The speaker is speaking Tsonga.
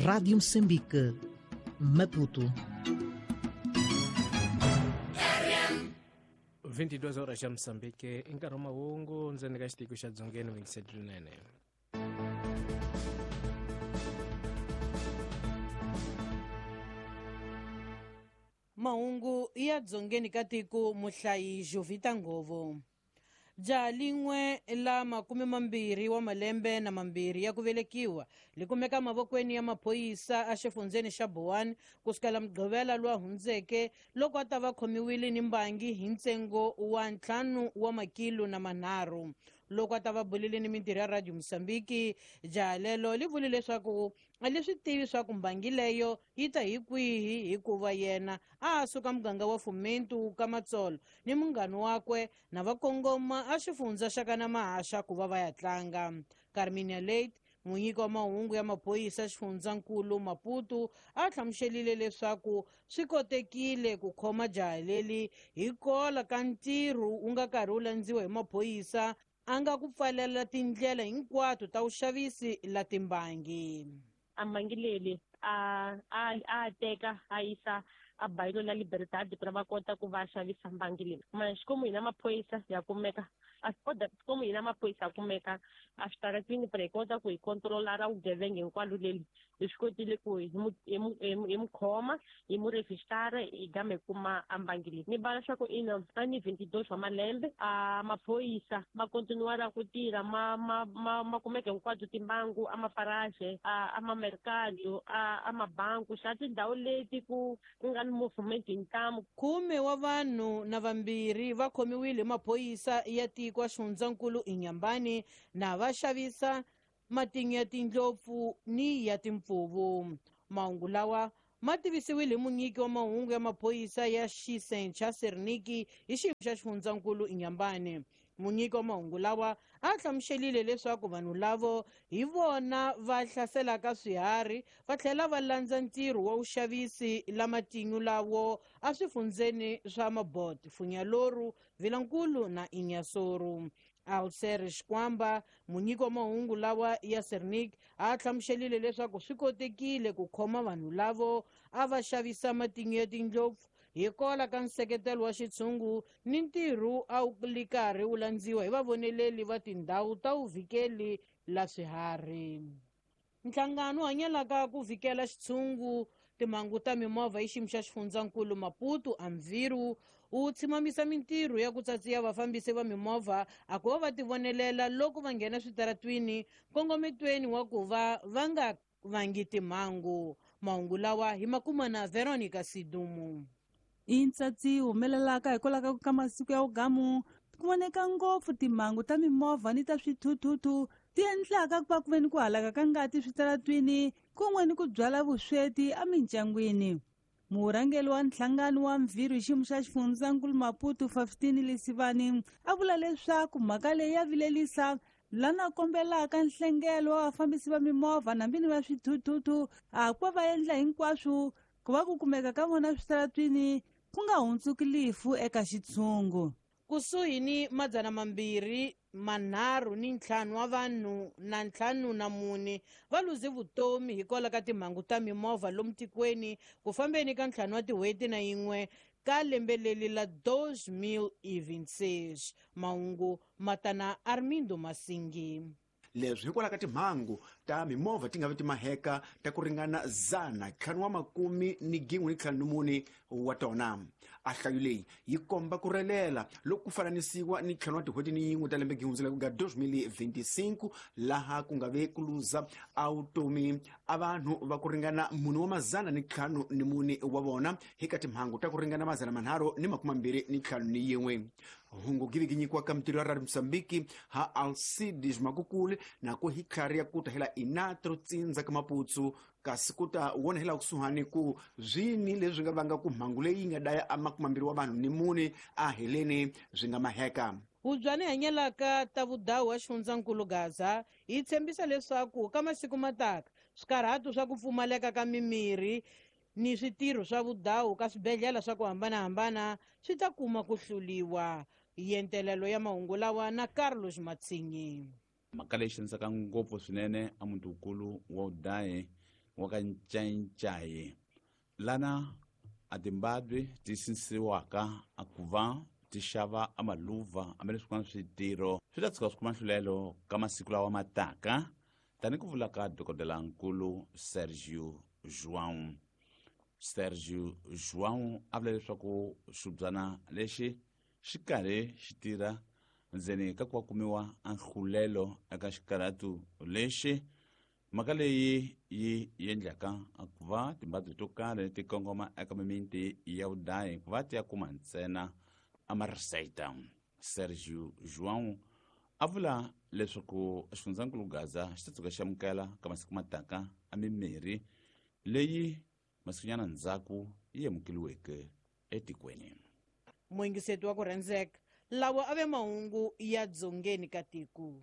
Rádio Moçambique, Maputo. 22 horas xa Moçambique i nkarhi wa mahungu ndzeni ka xitiko xa Dzongeni Vincent Rinene. Mahungu ya dzongeni ka tiko muhlayi Jovita Ngovo. Jaha lin'we la 22 wa malembe ya ku velekiwa li kumeka mavokweni ya maphorisa exifundzeni xa Boane kusukela Mugqivela lowu hundzeke loko a ta va khomiwile ni mbangi hi ntsengo wa 5 wa makilo na manharhu. Loko a ta va bulile ni mintirho ya Radio Mozambique, jaha lelo li vule leswaku a li swi tivi swa ku mbangi leyo yi ta hi kwihi, hikuva yena a a suka muganga wa Fomento ka Matsolo ni munghana wakwe na va kongoma a xifundza xa kana Mahaxa ku va va ya tlanga. Carminia Late, munyiki wa mahungu ya maphorisa xifundzankulu Maputo, a hlamuselile leswaku swi kotekile ku khoma jaha leli hi kola ka ntirho wu nga karhi wu landziwa hi maphorisa a nga ku pfalela tindlela hinkwato ta vuxavisi la timbangi. A mbangi leli a teka a yisa a bayilo la Libertad ku ri va kota ku va xavisa mbangi leyi. Mara xikomu hina maphorisa ya kumeka a xikomu hina maphorisa ya kumeka a switaratini ku ri hi kota ku hi controla ra vugevenga hinkwalo leli. Hi swi kotile ku hi mu khoma, hi mu revistara, hi gama hi kuma a mbangi leyi. Ni vala swa ku ina a ni 22 wa malembe. A maphorisa ma continuara ku tirha, ma kumeka hinkwato timbangu a maparaje, a mamercado, a mabanku xa tindhawu leti ku nga ni movement hi ntamu. 10 wa vanhu na vambirhi va khomiwile hi maphorisa ya tiko xifundzankulu Inhambane na va xavisa matinyo ya tindlopfu ni ya timpfuvu. Mahungu lawa ma tivisiwile hi munyiki wa mahungu ya maphorisa ya xisencha Serniki hi xiyimo xa xifundzankulu Inhambane. Munyiki wa mahungu lawa a hlamuselile leswaku vanhu lavo hi vona va hlaselaka swiharhi va tlhela va landza ntirho wa vuxavisi la matinyo lawo a swifundzeni swa Mabot, Funyaloru, Vilankulu na Inhassoro. Alser Xikwamba, munyiki wa mahungu lawa ya Sernik, a hlamuselile leswaku swi kotekile ku khoma vanhu lavo a va xavisa matinyo ya tindlopfu hi kola ka nseketelo wa xitshungu ni ntirho a wu li karhi wu landziwa hi vavoneleli va tindhawu ta vuvhikeli la swiharhi. Nhlangano wu hanyelaka ku vhikela xitshungu timhangu ta mimovha hi xiyimo xa xifundzankulu Maputo Amviru wu tshimamisa mintirho ya ku tsatsiya vafambisi va mimovha a ku va va tivonelela loko va nghena switaratwini nkongometweni wa ku va va nga vangi timhangu. Mahungu lawa hi makuma na Veronica Sidumu. I ntsatsi humelelaka hikwalaho ka masiku ya vugamu ku voneka ngopfu timhangu ta mimovha ni ta swithuthuthu ti endlaka ku va ku ve ni ku halaka ka ngati switaratwini kun'we ni ku byala vusweti emindyangwini. Murhangeri wa nhlangano wa Mvhirhu hi xiyimo xa xifundzankulu Maputo, 15 Lesivani, a vula leswaku mhaka leyi ya vilelisa lana kombelaka nhlengelo wa vafambisi va mimovha nambini va swithuthuthu a ku va va endla hinkwaswo ku va ku kumeka ka vona switaratwini ku nga hundzuki lifu eka xitshungu. Kusuhi ni 235 wa vanhu na 54 va luze vutomi hikwalaho ka timhangu ta mimovha lomu tikweni ku fambeni ka 5 wa tin'hweti na yin'we ka lembe leri la 2026. Mahungu matana Armindo Masingi. Leswi hikwalaho ka timhangu ta mimovha ti nga vi timaheka ta ku ringana 514 wa tona. A hlayo leyi yi komba ku relela loko ku fananisiwa ni 5 wa tin'hweti ni yin'we ta lembe gihundzela ku nga 2025, laha ku nga ve ku luza a vutomi a vanhu va ku ringana 454 wa vona hi ka timhangu ta ku ringana 325. Hungu givi nyikiwa ka mitirho ya Radio Mosambiki ha Alcides Makukule na ku hi tlhari ya kuta hela inatro tsindza ka Maputsu, kasi ku ta wona hela kusuhani ku zwini leswi nga vanga ku mhangu leyi nga daya a 20 wa vanhu ni mune a heleni swi nga maheka. Hubyani hanyelaka ta vudawu wa xifundzankulu Gaza yi tshembisa leswaku ka masiku mataka swikarhato swa ku pfumaleka ka mimirhi ni switirho swa vudawu ka swibedhlele swa ku hambanahambana swi ta kuma ku hluliwa. Yentelelo ya mahungu lawa na Carlos Matsinyi. Mhaka leyi xanisaka ngopfu swinene a muti wukulu wa udaye. wa ka Ncayicayi lana a timbabwe ti sinsiwaka a ku va ti xava amaluva hambi leswi swin'wana switirho swi ta tshuka swi kuma nhlulelo ka masiku lawa ma taka, tani ku vula ka dokodelankulu Sergio João. Sergio João a vula leswaku xibyana lexi xi karhi xi tirha ndzeni ka ku va kumiwa a nhlulelo eka xikarhatu lexi. Mhaka leyi yi endlaka ku va timbabye to karhi ti kongoma eka mimiti ya vudayi ku va ti ya kuma ntsena amariseta. Sergio João a vula leswaku xifundzankulu Gaza xi ta tshuka xi amukela ka masiku mataka a mimirhi leyi masikunyana ndzhaku yi amukeliweke etikweni. Muyingiseti wa ku rhandzeka, lawa a ve mahungu ya dzongeni ka tiko.